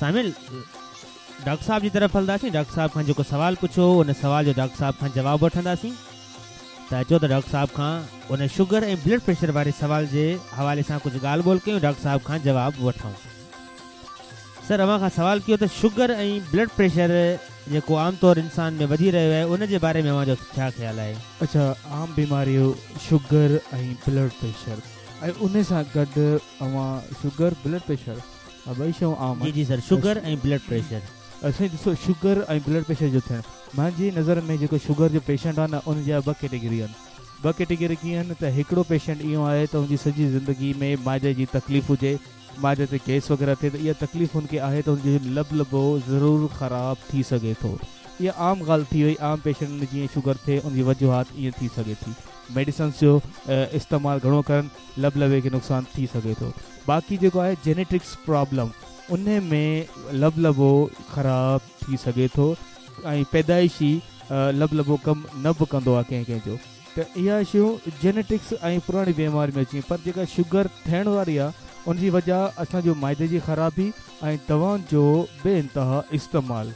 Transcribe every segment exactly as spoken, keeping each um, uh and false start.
सामिल डॉक्टर साहब जी तरफ़ हलंदासीं। डॉक्टर साहब खां जेको सवाल पुछियो उन सवाल जो डॉक्टर साहब खां जवाबु वठंदासीं। त अचो त डॉक्टर साहब खां उन शुगर ऐं ब्लड प्रेशर वारे सवाल जे हवाले सां कुझु ॻाल्हि ॿोल कयूं, डॉक्टर साहब खां जवाबु वठूं। सर अव्हां खां सवाल कयो त शुगर ऐं ब्लड प्रेशर जेको आम तौर इंसान में वधी रहियो आहे उन जे बारे में अव्हांजो छा ख़्यालु आहे? अच्छा, आम बीमारियूं शुगर ऐं ब्लड प्रेशर ऐं उन सां गॾु अव्हां शुगर ब्लड प्रेशर ॿई शयूं आम। जी जी सर, शुगर ऐं ब्लड प्रेशर। साईं ॾिसो, शुगर ऐं ब्लड प्रेशर जो थियणु मुंहिंजी नज़र में जेको शुगर जो पेशेंट आहे न उन जा ॿ कैटेगरी आहिनि। ॿ कैटेगरी कीअं आहिनि त हिकिड़ो पेशेंट इहो आहे त हुनजी सॼी ज़िंदगी में मादे जी तकलीफ़ हुजे, मादे ते गैस वग़ैरह थिए त इहा तकलीफ़ हुनखे आहे त हुनजो लबलबो ज़रूरु ख़राबु थी सघे थो। इहा आम ॻाल्हि थी वई, आम पेशेंट में जीअं शुगर थिए उनजी वजूहात ईअं थी सघे थी। मेडिसिन्स जो इस्तेमालु घणो करनि लबलबे खे नुक़सानु थी सघे थो। बाक़ी जेको आहे जेनेटिक्स प्रॉब्लम, उन में लबलबो ख़राबु थी सघे थो ऐं पैदाइशी लबलबो कमु न बि कंदो आहे कंहिं कंहिंजो। त इहा शयूं जेनेटिक्स ऐं पुराणी बीमारी में अची। पर जेका शुगर थियण वारी आहे उनजी वजह असांजो माइदे जी ख़राबी ऐं दवाउनि जो बे इंतहा इस्तेमालु,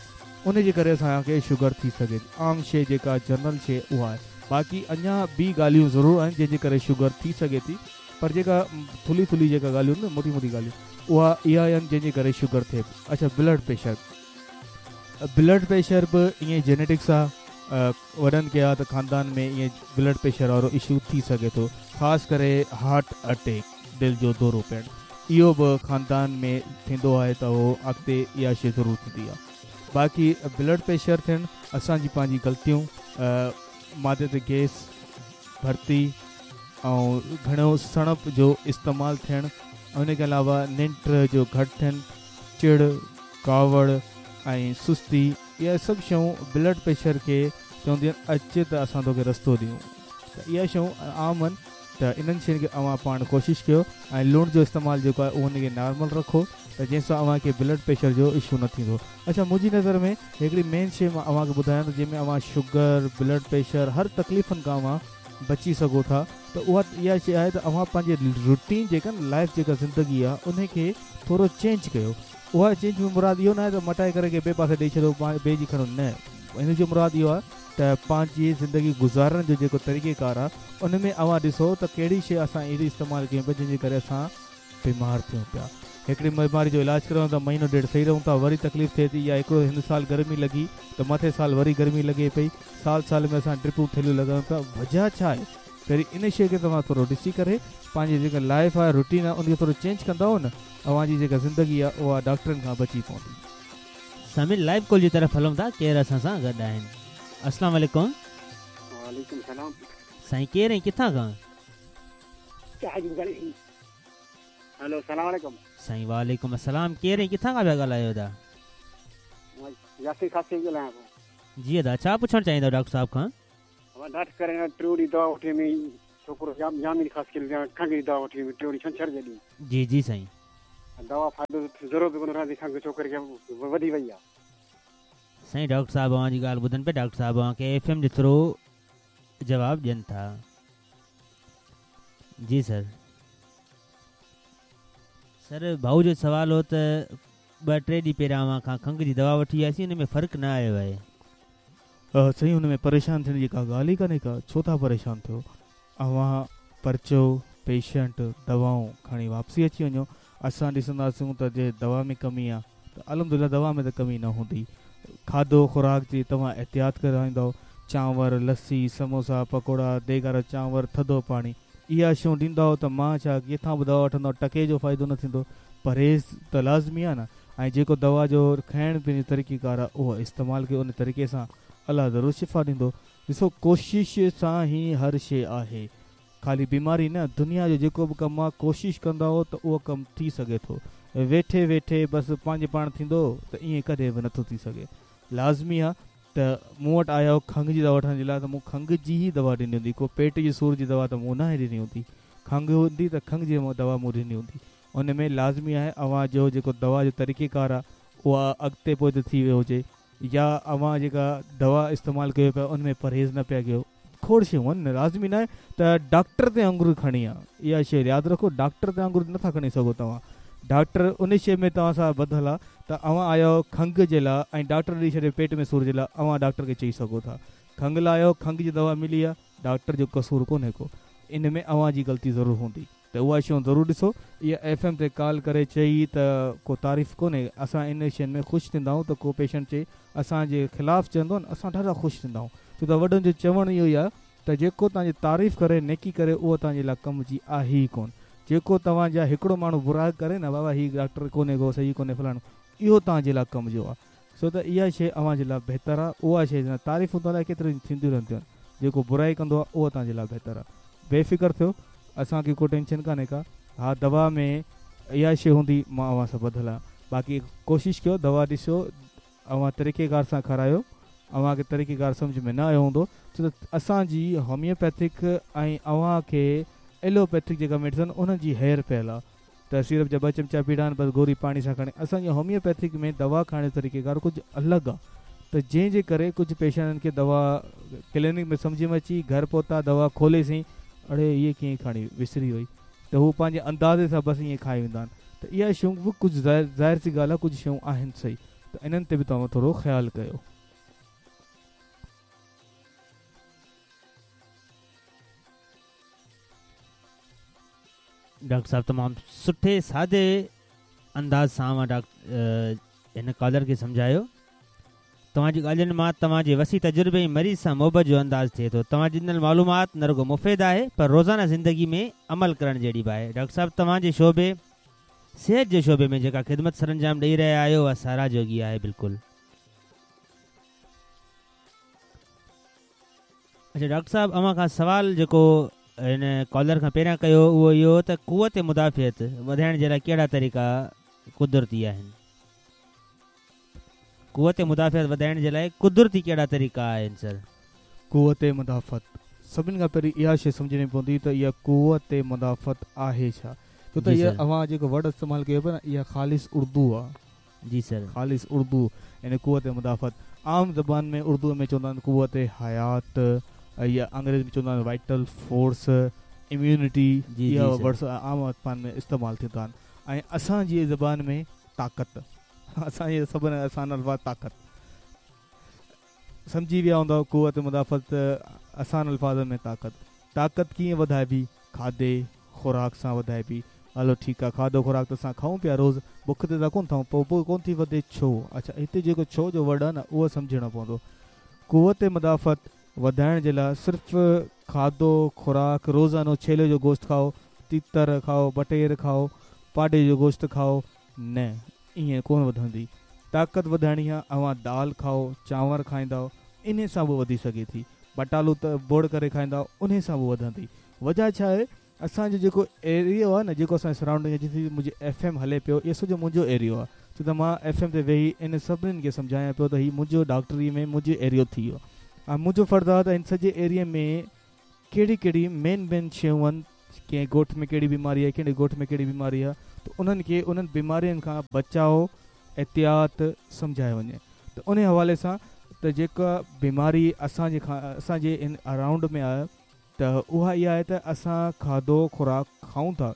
उन जे करे असांखे शुगर थी सघे थी। आम शइ जेका जनरल शइ उहा आहे। बाक़ी अञा ॿी ॻाल्हियूं ज़रूरु आहिनि जंहिंजे करे शुगर थी सघे थी, पर जेका थुल्ही थुल्ही जेका ॻाल्हियूं आहिनि न, मोटी मोटी ॻाल्हियूं, उहा इहा आहिनि जंहिंजे करे शुगर थिए। अच्छा, ब्लड प्रेशर, ब्लड प्रेशर बि ईअं जेनेटिक्स आहे। वॾनि खे आहे त ख़ानदान में ईअं ब्लड प्रेशर वारो इशू थी सघे थो, ख़ासि करे हार्ट अटैक, दिलि जो दौरो पवणु, इहो बि ख़ानदान में थींदो आहे त उहो अॻिते इहा शइ ज़रूरु थींदी आहे। बाक़ी ब्लड प्रेशर थियणु असांजी पंहिंजी ग़लतियूं, मादे ते गैस भर्ती ऐं घणो सणप जो इस्तेमालु थियणु, उन के अलावा निंड जो घटि थियणु, चिड़ कावड़ ऐं सुस्ती, इहा सभु शयूं ब्लड प्रेशर खे चवंदियूं आहिनि अच त असां तोखे रस्तो ॾियूं। त इहा शयूं आम आहिनि, त इन्हनि शयुनि खे अव्हां पाण कोशिशि कयो ऐं लूणु जो इस्तेमालु जेको आहे उहो हुनखे नॉर्मल रखो त जंहिंसां अव्हांखे ब्लड प्रेशर जो इशू न थींदो। अच्छा, मुंहिंजी नज़र में हिकिड़ी मेन शइ मां अव्हांखे ॿुधायां थो जंहिंमें अव्हां शुगर, ब्लड प्रेशर हर तकलीफ़ुनि खां अव्हां बची सघो था, त उहा इहा शइ आहे त अव्हां पंहिंजी रूटीन जेका न लाइफ जेका ज़िंदगी आहे उनखे थोरो चेंज कयो। उहा चेंज में मुराद इहो न आहे त मटाए करे ॿिए पासे ॾेई छॾो, ॿिए जी खणो, न। हिन जो मुराद इहो आहे त पंहिंजी ज़िंदगी गुज़ारण जो जेको तरीक़ेकार आहे उन में अव्हां ॾिसो त कहिड़ी शइ असां अहिड़ी इस्तेमालु कयूं पिया जंहिंजे करे असां बीमार थियूं पिया। हिकिड़ी बीमारी जो इलाज करायूं था, महीनो ॾेढ सही रहूं था, वरी तकलीफ़ थिए थी, या हिकिड़ो हिन साल गर्मी लॻी त मथे साल वरी गर्मी लॻे पई, साल साल में असां ड्रिपूं थैलियूं लॻायूं पिया। वजह छा आहे? पहिरीं इन शइ खे तव्हां थोरो ॾिसी करे पंहिंजी जेका लाइफ आहे, रूटीन आहे, उनखे थोरो चेंज कंदव न, अव्हांजी जेका ज़िंदगी आहे उहा डॉक्टरनि खां बची पवंदी। सामिल लाइव कॉल जी तरफ़ हलूं था, केरु असां सां गॾु आहिनि? अस्सलाम वालेकुम। वालेकुम सलाम। साईं केरु ऐं किथां खां? हेलो, सलाम वालेकुम। साईं वालेकुम अस्सलाम। केरु ऐं किथां खां पिया ॻाल्हायो था? यासीर खासी ॻाल्हायां थो। जी अदा, छा पुछणु चाहींदव डॉक्टर साहब खां? डॉक्टर करे टियों ॾींहुं दवा वठी मी छोकिरो जाम जाम ख़ासि खंघ जी दवा वठी मी टियों ॾींहुं छंछर जे ॾींहुं। जी जी साईं। दवा फ़ाइदो ज़रो बि कोन रहंदी, खंघ छोकिरे खे वधी वई आहे। साईं डॉक्टर साहब अव्हांजी ॻाल्हि ॿुधनि पिया, डॉक्टर साहब अव्हांखे एफ एम जे थ्रू जवाबु ॾियनि था। जी सर। सर भाऊ जो सवाल हो त ॿ टे ॾींहं पहिरियां अव्हां खां खंघ जी दवा वठी आयासीं, हुन में फ़र्क़ु न आयो आहे। सही, हुन में परेशान थियण जी का ॻाल्हि ई कान्हे का, छो था परेशान थियो? अव्हां परचो पेशेंट दवाऊं खणी वापसि अची वञो। असां ॾिसंदासीं त जे दवा में कमी आहे त अल्हम्दुलिल्लाह दवा में त कमी न हूंदी। खाधो ख़ुराक जी तव्हां एहतियात कराईंदव, चांवर, लस्सी, समोसा, पकौड़ा, देगारा चांवर, थधो पाणी, इहा शयूं ॾींदव त मां छा किथां बि दवा वठंदव, टके जो फ़ाइदो न थींदो। परहेज़ त लाज़मी आहे न, ऐं जेको दवा जो खाइण पीअण जो तरीक़ेकार आहे उहो इस्तेमालु कयो, उन तरीक़े सां अलाह ज़रूरु शिफ़ा ॾींदो। ॾिसो, कोशिश सां ई हर शइ आहे, ख़ाली बीमारी न, दुनिया जो जेको बि कमु आहे कोशिश कंदव त उहो कमु थी सघे थो। वेठे वेठे बसि पंहिंजे पाण थींदो त ईअं कॾहिं बि नथो थी सघे। लाज़मी आहे त मूं वटि आया खंघ जी दवा वठण जे लाइ त मूं खंघ जी ई दवा ॾिनी हूंदी, को पेट जे सूर जी दवा त मूं न ॾिनी हूंदी। खंघ हूंदी त खंघ जी दवा मूं ॾिनी हूंदी। उन में लाज़मी आहे अव्हांजो जेको दवा जो तरीक़ेकार आहे उहा अॻिते पोइ थी वियो हुजे, या अव्हां जेका दवा इस्तेमालु कयो पिया उन में परहेज़ न पिया कयो। खोड़ शयूं आहिनि, लाज़मी न आहे त डॉक्टर ते आङुर खणी आहे। इहा शइ यादि रखो, डॉक्टर ते आङुर नथा खणी सघो तव्हां। डॉक्टर उन शइ में तव्हां सां ॿधल आहे त अव्हां आया आहियो खंघ जे लाइ ऐं डॉक्टर ॾेई छॾे पेट में सूर जे लाइ, अव्हां डॉक्टर खे चई सघो था खंघ लाइ आयो, खंघ जी दवा मिली आहे, डॉक्टर जो कसूर कोन्हे को, इन में अव्हां जी ग़लती ज़रूरु हूंदी। त उहा शयूं ज़रूरु ॾिसो। इहा एफ एम ते कॉल करे चई त को तारीफ़ कोन्हे, असां इन शयुनि में ख़ुशि थींदा आहियूं त को पेशेंट चए असांजे ख़िलाफ़ चवंदो न, असां ॾाढा ख़ुशि थींदा आहियूं। छो त वॾनि जो चवणु इहो ई आहे त जेको तव्हांजी तारीफ़ करे नेकी करे उहो तव्हांजे लाइ कम जी आहे ई कोन। जेको तव्हांजा हिकिड़ो माण्हू बुरा करे न, बाबा हीउ डॉक्टर कोन्हे को सही कोन्हे फलाणो, इहो तव्हांजे लाइ कम जो आहे। छो त इहा शइ अव्हांजे लाइ बहितर आहे, उहा शइ तारीफ़ूं त अलाए केतिरियूं थींदियूं रहंदियूं आहिनि, जेको बुराई कंदो आहे उहो तव्हांजे लाइ बहितर आहे। बेफ़िक्र थियो, असांखे को टेंशन कान्हे का। हा दवा में इहा शइ हूंदी, मां अव्हां सां ॿधल आहियां। बाक़ी कोशिशि कयो दवा ॾिसो, अव्हां तरीक़ेकार सां खारायो, अव्हांखे तरीक़ेकार सम्झ में न आयो हूंदो। छो त असांजी होमियोपैथिक ऐं अव्हांखे एलोपैथिक जेका मेडिसिन उन्हनि जी हेर पयल आहे त सिरप जा ॿ चमचा पीड़ा आहिनि, बसि गोरी पाणी सां खणी। असांजी होमियोपैथिक में दवा खाइण जो तरीक़ेकार कुझु अलॻि आहे, त जंहिंजे करे कुझु पेशेंटनि खे दवा क्लिनिक में सम्झ में अची, घर पहुता दवा खोलेसीं, अड़े इहे कीअं खाणी विसरी वई, त हू पंहिंजे अंदाज़े सां बसि ईअं खाई वेंदा आहिनि। त इहा शयूं बि कुझु ज़ाहिर सी ॻाल्हि आहे, कुझु शयूं आहिनि सही, त इन्हनि ते बि तव्हां थोरो ख़्यालु कयो। डॉक्टर साहब तमामु सुठे सादे अंदाज़ सां मां डॉक्टर हिन कॉलर खे सम्झायो। तव्हांजी ॻाल्हियुनि मां तव्हांजे वसी तजुर्बे ऐं मरीज़ सां मोहबत जो अंदाज़ थिए थो। तव्हांजी ॾिनल मालूमात न रुगो मुफ़ीद आहे पर रोज़ाना ज़िंदगी में अमल करण जहिड़ी बि आहे। डॉक्टर साहब तव्हांजे शोबे सिहत जे शोबे में जेका ख़िदमत सर अंजाम ॾेई रहिया आहियो उहा सराह जोगी आहे बिल्कुलु। अच्छा डॉक्टर साहब, अव्हां खां सवाल जेको हिन कॉलर खां पहिरियां कयो उहो इहो त कुवत मुदाफ़ियत वधाइण जे लाइ कहिड़ा तरीक़ा कुदरती आहिनि? कुवत मुदाफ़ियत वधाइण जे लाइ कुदरती कहिड़ा तरीक़ा आहिनि सर? कुवत मुदाफ़त सभिनी खां पहिरीं इहा शइ सम्झणी पवंदी त इहा कुवत मुदाफ़त आहे छा? छो त इहा अव्हां जेको वर्ड इस्तेमालु कयो पिया न, इहा ख़ालिस उर्दू आहे। जी सर, ख़ालिस उर्दू यानी कुवत मुदाफ़त आम ज़बान में उर्दू में चवंदा आहिनि कुवत हयात, या अंग्रेज़ी में चवंदा आहिनि वाइटल फोर्स, इम्यूनिटी, इहा वर्ड्स आम ज़बान में इस्तेमालु थींदा आहिनि। ऐं असांजी ज़बान में ताक़त, असांजे सभिनी आसान अल्फ़ाज़ ताक़त सम्झी विया हूंदव। कुवत मुदाफ़त आसान अल्फ़ाज़ में ताक़त। ताक़त कीअं वधाइबी? खाधे ख़ुराक सां वधाइबी। हलो ठीकु आहे, खाधो ख़ुराक त असां खाऊं पिया रोज़, बुख ते त कोन खाऊं, पोइ पोइ कोन थी वधे छो? अच्छा, हिते जेको छो जो वर्ड आहे न उहो सम्झणो पवंदो। कुवत मुदाफ़त वधाइण जे लाइ सिर्फ़ु खाधो ख़ुराक, रोज़ानो छेले जो गोश्त खाओ, तीतर खाओ, बटेर खाओ, पाॾे जो गोश्त खाओ, न, ईअं कोन वधंदी। ताक़त वधाइणी आहे, अव्हां दाल खाओ, चांवर खाईंदव, इन सां बि वधी सघे थी। बटालू त बोड़ करे खाईंदव, उन सां बि वधंदी। वजह छा आहे? असांजो जेको एरियो आहे न, जेको असांजो सराउंडिंग आहे, जिते मुंहिंजो एफ एम हले पियो, इहो सॼो मुंहिंजो एरियो आहे। छो त मां एफ एम ते वेही इन सभिनीनि खे सम्झायां पियो त हीउ मुंहिंजो डॉक्टरी में मुंहिंजो एरियो थी वियो। ऐं मुंहिंजो फ़र्ज़ु आहे त हिन सॼे एरिया में कहिड़ी कहिड़ी मेन मेन शयूं आहिनि, कंहिं ॻोठ में कहिड़ी बीमारी आहे, कहिड़े ॻोठ में कहिड़ी बीमारी आहे, त उन्हनि खे उन्हनि बीमारियुनि खां बचाव एहतियात सम्झायो वञे। त उन हवाले सां त जेका बीमारी असांजे खां असांजे इन अराउंड में आहे त उहा इहा आहे त असां खाधो ख़ुराक खाऊं था,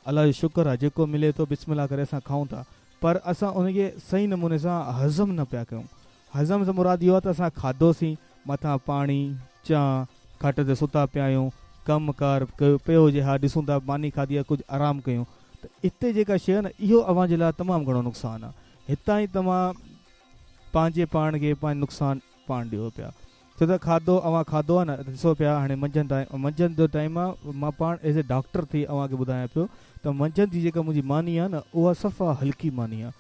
अलाह जो शुक्र आहे जेको मिले थो बिस्मिल्लाह करे असां खाऊं था, पर असां उनखे सही नमूने सां हज़म न पिया कयूं। हज़म सां मुराद इहो आहे त असां खाधोसीं, मथां पाणी चांहि, खट ते सुता पिया आहियूं, कमु कार कयो पियो हुजे, हा ॾिसूं था मानी खाधी आहे, कुझु आराम कयूं, त हिते जेका शइ आहे न इहो अव्हांजे लाइ तमामु घणो नुक़सानु आहे। हितां ई तव्हां पंहिंजे पाण खे पंहिंजो नुक़सानु पाण ॾियो पिया। छो त खाधो अव्हां खाधो आहे न, ॾिसो पिया हाणे मंझंदि टाइम, मंझंदि जो टाइम आहे, मां पाण एज़ ए डॉक्टर थी अव्हांखे ॿुधायां पियो त मंझंदि जी जेका मुंहिंजी मानी आहे न उहा सफ़ा हल्की मानी आहे।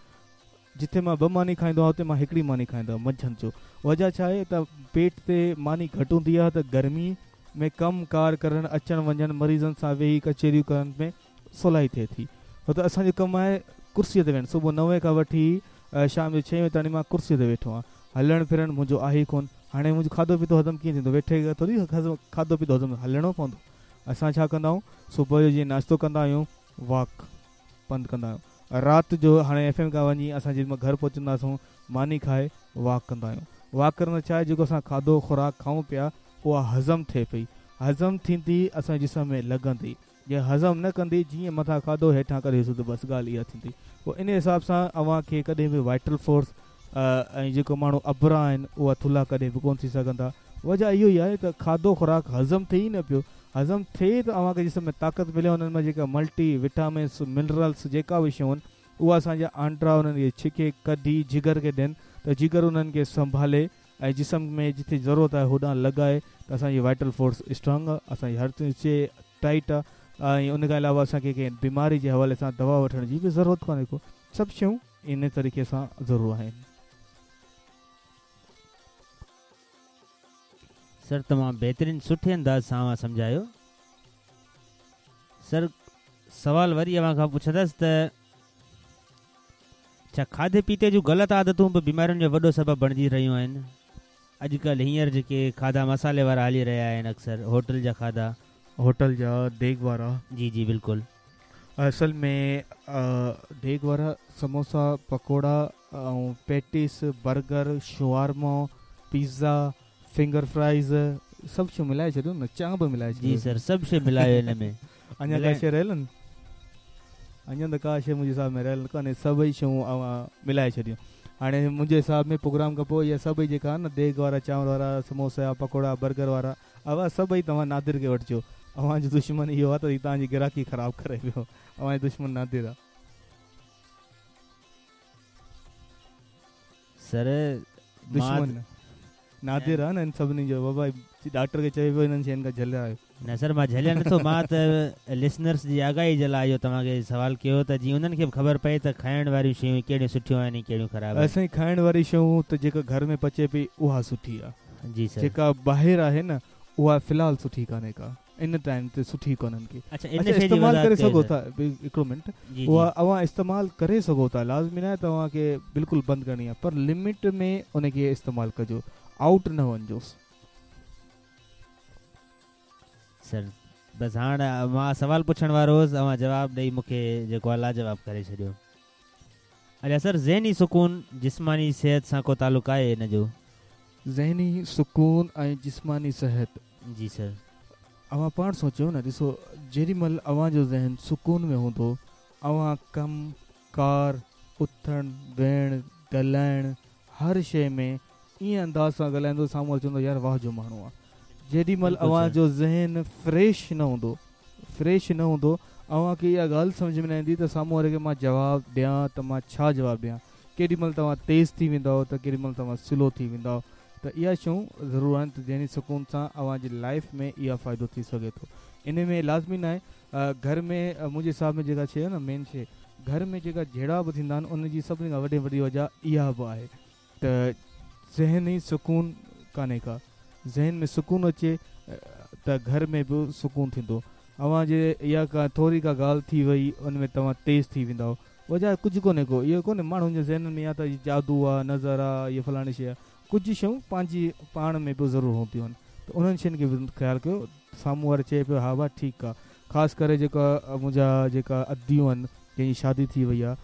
जिथे मां ॿ मानी खाईंदो आहियां उते मां हिकिड़ी मानी खाईंदो आहियां मंझंदि जो। वजह छा आहे त पेट ते मानी घटि हूंदी आहे त गर्मी में कमु कार करणु, अचणु वञणु, मरीज़नि सां वेही कचहरियूं करण में सवलाई थिए थी। छो त असांजो कमु आहे कुर्सीअ ते वेहणु, सुबुह नवे खां वठी शाम जो छह बजे ताईं मां कुर्सीअ ते वेठो आहियां, हलणु फिरणु मुंहिंजो आहे ई कोन। हाणे मुंहिंजो खाधो पीतो हज़म कीअं थींदो? वेठे थोरी खाधो पीतो हज़म, हलणो पवंदो। असां छा कंदा आहियूं, सुबुह जो जीअं नाश्तो कंदा आहियूं, वॉक पंधु कंदा आहियूं, राति जो हाणे एफ एम खां वञी असां जंहिं महिल घर पहुचंदासूं मानी खाए वॉक कंदा आहियूं। वॉक करण छा आहे, जेको असां खाधो ख़ुराक खाऊं पिया उहा हज़म थिए पई, हज़म थींदी असांजे जिस्म में लॻंदी, जीअं हज़म न कंदी, जीअं मथां खाधो हेठां कढी त बसि ॻाल्हि इहा थींदी। पोइ इन हिसाब सां अव्हां खे कॾहिं बि वाइटल फोर्स ऐं जेको माण्हू अबरा आहिनि उहा थुल्हा कॾहिं बि कोन थी सघंदा। वजह इहो ई आहे त खाधो ख़ुराक हज़म थिए ई न पियो, हज़म थिए त अव्हांखे जिस्म में ताक़त मिले, उन्हनि मां जेका मल्टी विटामिन्स मिनरल्स जेका बि शयूं आहिनि उहा असांजा आंडा उन्हनि खे छिके कढी जिगर खे ॾियनि त जिगर उन्हनि खे संभाले ऐं जिस्म में जिथे ज़रूरत आहे होॾां लॻाए त असांजी वाइटल फोर्स स्ट्रॉन्ग आहे, असांजी हर शइ टाइट आहे ऐं उन खां अलावा असांखे कंहिं बीमारी जे हवाले सां दवा वठण जी बि ज़रूरत कोन्हे को, सभु शयूं इन तरीक़े सां ज़रूरु आहिनि। सर तमामु बहितरीन सुठे अंदाज़ सां अव्हां सम्झायो। सर सवाल वरी अव्हां खां पुछंदसि त छा खाधे पीते जूं ग़लति आदतूं बि बीमारियुनि जो वॾो सबबु बणिजी रहियूं आहिनि? अॼुकल्ह हींअर जेके खाधा मसाले वारा हली रहिया आहिनि, अक्सर होटल जा खाधा, होटल जा देग वारा। जी जी बिल्कुलु। असल में देग वारा समोसा पकौड़ा ऐं patties burger shawarma pizza finger fries सभु शयूं मिलाए छॾियो न, चांहि बि मिलाए छॾियो। जी सर सभु शइ मिलायो हिन में। अञा का शइ रहियल आहिनि? अञा त का शइ मुंहिंजे हिसाब में रहियल कान्हे, सभई शयूं अव्हां मिलाए छॾियूं। हाणे मुंहिंजे हिसाब में प्रोग्राम खां पोइ इहा सभई जेका आहिनि न देग वारा चांवर वारा समोसा पकौड़ा बर्गर वारा अव्हां सभई तव्हां नादिर खे वठिजो। अव्हांजो दुश्मन इहो आहे त तव्हांजी गिराकी ख़राबु करे पियो, अव्हांजो दुश्मन नादिर आहे। सर दुश्मन नादिर आहे न इन सभिनी जो। बाबा डॉक्टर खे चए पियो हिननि शयुनि खां झलिया आहियो। न सर मां झलिया नथो, मां त लिसनर्स जी आगाही जे लाइ इहो तव्हांखे सवाल कयो त जीअं उन्हनि खे बि ख़बर पए त खाइण वारियूं शयूं कहिड़ियूं सुठियूं आहिनि कहिड़ियूं ख़राबु आहिनि। असांजी खाइण वारी शयूं त जेका घर में पचे पई उहा सुठी आहे। जी सर। जेका ॿाहिरि आहे न उहा फ़िलहालु सुठी कान्हे का, इन टाइम ते सुठी कोन्हनि के। अच्छा, इन शइ जी इस्तेमालु करे वज़ाहत सघो कयो था, हिकिड़ो मिंट, जी, जी। उहा अव्हां इस्तेमालु करे सघो था, लाज़मी न आहे तव्हांखे बिल्कुलु बंदि करणी आहे, पर लिमिट में उनखे इस्तेमालु कजो, आउट न वञिजोसि। सर बसि हाणे मां सवाल पुछण वारो हुउसि, अव्हां जवाबु ॾेई मूंखे जेको आहे लाजवाब करे छॾियो। अच्छा सर, ज़हनी सुकून जिस्मानी सिहत सां को तालुक आहे हिन जो? ज़हनी सुकून ऐं जिस्मानी सिहत। जी सर। अव्हां पाण सोचियो न, ॾिसो जेॾी महिल अव्हांजो ज़हन सुकून में हूंदो, अव्हां कम कार उथणु वेहणु ॻाल्हाइणु हर शइ में ईअं अंदाज़ सां ॻाल्हाईंदो, साम्हूं वारो चवंदो यार वाह जो माण्हू आहे। जेॾी महिल अव्हांजो ज़हन फ्रेश न हूंदो, फ्रेश न हूंदो, अव्हांखे इहा ॻाल्हि सम्झ में न ईंदी त साम्हूं वारे खे मां जवाबु ॾियां त मां छा जवाबु ॾियां। केॾी महिल तव्हां तेज़ थी वेंदव त केॾी महिल तव्हां स्लो थी वेंदव। त इहा शयूं ज़रूरु आहिनि त ज़हनी सुकून सां अव्हांजी लाइफ में इहा फ़ाइदो थी सघे थो। इन में लाज़मी न आहे घर में मुंहिंजे हिसाब में जेका शइ आहे न मेन शइ, घर में जेका झेड़ा बि थींदा आहिनि उनजी सभिनी खां वॾी वॾी वजह इहा बि आहे त ज़हनी सुकून कान्हे का। ज़हन में सुकून अचे त घर में बि सुकून थींदो। अव्हांजे इहा का थोरी का ॻाल्हि थी वई उन में तव्हां तेज़ थी वेंदव, वजह कुझु कोन्हे को। इहो कोन्हे माण्हुनि जे ज़हन में या त जादू आहे, नज़र आहे, इहा फलाणी शइ आहे, कुझु शयूं पंहिंजी पाण में बि ज़रूरु हूंदियूं आहिनि। त उन्हनि शयुनि खे बि ख़्यालु कयो। साम्हूं वारो चए पियो हा भा ठीकु आहे। ख़ासि करे जेका मुंहिंजा जेका अदियूं आहिनि जंहिंजी शादी थी वई आहे,